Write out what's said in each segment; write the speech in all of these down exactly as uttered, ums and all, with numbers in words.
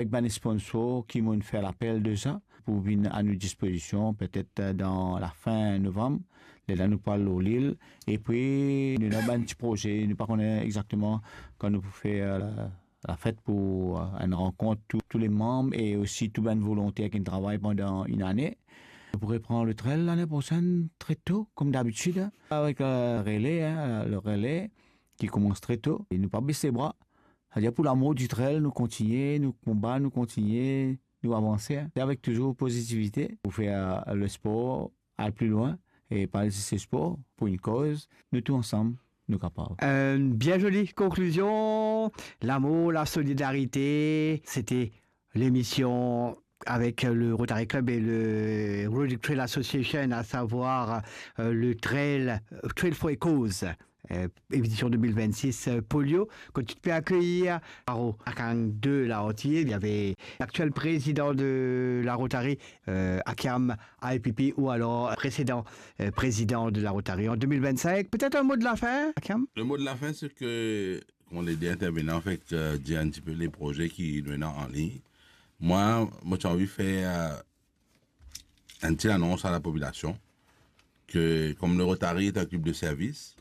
ek bann sponsor ki mo'nn fer lapel deza pou vinn a nou dispozision, petet, eh, dan lafin novam, lerla nou pou al lor lil. Epi, nou ena bann ti proze, nou pa kone exakteman kan nou pou fer, eh, la, lafet pou, eh, enn rankont tou, tou le manm e osi tou bann volonter ki travay pandan enn ane. Nou pou repran le trail lane prosenn, tre to, kom dabitid, eh, avek, eh, rele, eh, le rele ki koumans tre to. E nou pa bes lebra. Savedir pou lamour di trail, nou kontigne, nou konba, nou kontigne, nou avanse, eh. Se avek touzour pozitivite pou fer, eh, lespor al pli lwin e pa zis lespor, pou enn koz, nou tou ansam, nou kapav. Enn bien zoli konklizion, lamour, lasolidarite, sete lemision avek le Rotary Club e le Rotary Trail Association, a savwar, eh, le trail, eh, Trail for a Cause, eh, edision de mil vennsis, eh, Polio, kot ti pe akeyir Aro Akang de la Antiye, li ave laktiel prezidan de la Rotary, eh, Akiam I P P, ou alor presedan, eh, prezidan de la Rotary an de mil vennsink. Petet enn mo de lafin, Akiam? Le mo de lafin, se ke, kouma le de intervenan fek, eh, dir enn tipe le proze ki nou ena an lign. Mwa, mo ti anvi fer, eh, enn ti anons a lapopilasion ke, kom le Rotary est un club de service,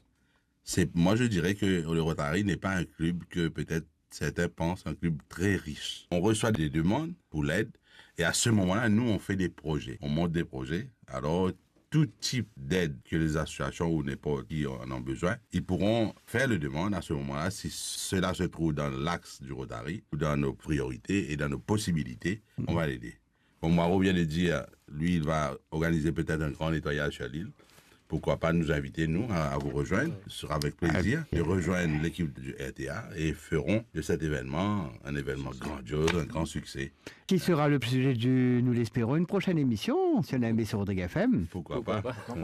c'est, moi je dirais que le Rotary n'est pas un club que peut-être certains pensent un club très riche. On reçoit des demandes pour l'aide et à ce moment-là, nous, on fait des projets, on monte des projets. Alors, tout type d'aide que les associations ou n'importe qui en ont besoin, ils pourront faire le demande à ce moment-là. Si cela se trouve dans l'axe du Rotary ou dans nos priorités et dans nos possibilités, on va l'aider. Comme Maro vient de dire, lui, il va organiser peut-être un grand nettoyage sur l'île. Pourquoi pas nous inviter, nous, à, à vous rejoindre? Ce sera avec plaisir de rejoindre l'équipe du R T A et ferons de cet événement un événement grandiose, un grand succès. Qui sera le sujet de, nous l'espérons, une prochaine émission sur la M B C Rodrigues F M. Pourquoi pas?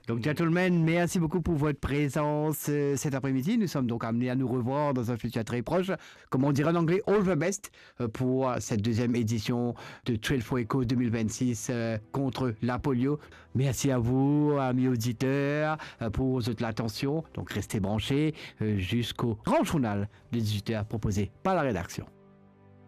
Donc, gentlemen, merci beaucoup pour votre présence, euh, cet après-midi. Nous sommes donc amenés à nous revoir dans un futur très proche. Comme on dirait en anglais, all the best, euh, pour, euh, cette deuxième édition de Trail for a Cause deux mille vingt-six, euh, contre la polio. Merci à vous, amis auditeurs, euh, pour votre attention. Donc, restez branchés, euh, jusqu'au grand journal de dix-huit heures proposé par la rédaction.